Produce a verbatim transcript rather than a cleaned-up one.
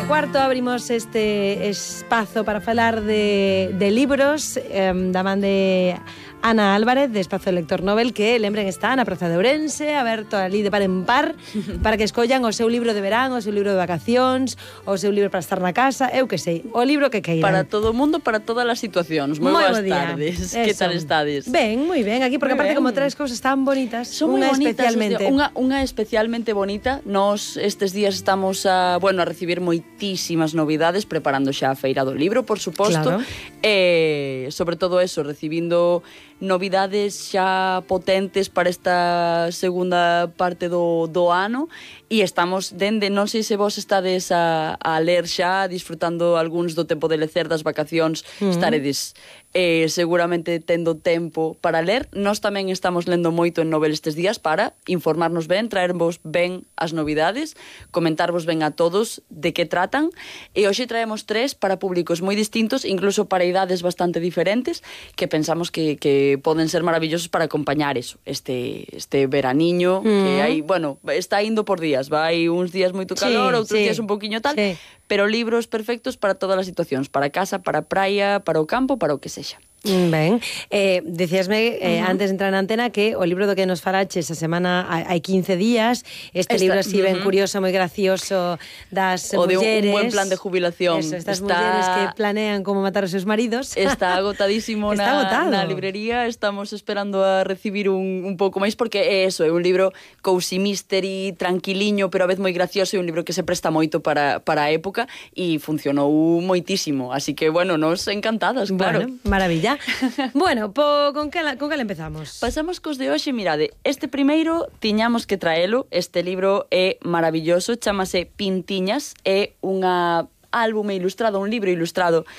e cuarto abrimos este espazo para falar de, de libros eh, da man de Ana Álvarez, de Espazo Lector Nobel, que, lembren, está na Praza de Ourense, aberto ali de par en par, para que escollan o seu libro de verán, o seu libro de vacacións, o seu libro para estar na casa, eu que sei, o libro que queiran. Para todo o mundo, para todas as situacións. Moi boas tardes. Que tal estades? Ben, moi ben, aquí, porque Muy aparte ben. como tres cousas tan bonitas, Son unha moi bonitas, especialmente. Unha, unha especialmente bonita. Nos estes días estamos a, bueno, a recibir moitísimas novidades, preparando xa a Feira do Libro, por suposto. Claro. E, sobre todo eso, recibindo novidades xa potentes para esta segunda parte do, do ano, e estamos dende, non sei se vos estades a, a ler xa, disfrutando algúns do tempo de lecer das vacacións, uh-huh. estaredes eh, seguramente tendo tempo para ler. Nós tamén estamos lendo moito en Nobel estes días para informarnos ben, traervos ben as novidades, comentarvos ben a todos de que tratan, e hoxe traemos tres para públicos moi distintos, incluso para idades bastante diferentes, que pensamos que, que poden ser maravillosos para acompañar eso, este, este veraniño, mm. que hai, bueno, está indo por días, vai uns días moito calor, sí, outros sí. días un poquinho tal, sí. pero libros perfectos para todas as situacións, para casa, para praia, para o campo, para o que sexa. Ben, eh, decíasme eh, uh-huh. antes de entrar na antena que o libro do que nos falaches esa semana hai quince días, este Esta, libro así ben uh-huh. curioso, moi gracioso, das o mulleres, de un, un buen plan de jubilación. Eso, estas está, mulleres que planean como matar os seus maridos. Está agotadísimo está na, na librería, estamos esperando a recibir un, un pouco máis, porque é eso, é un libro cozy mystery, tranquiliño, pero a vez moi gracioso, e un libro que se presta moito para, para a época, e funcionou moitísimo, así que, bueno, nos encantadas, claro. Bueno, maravilla. Bueno, po, con que con que empezamos? Pasamos cos de hoxe, mirade, este primeiro tiñamos que traelo, este libro é maravilloso, chamase Pintiñas, é unha álbume ilustrado, un libro ilustrado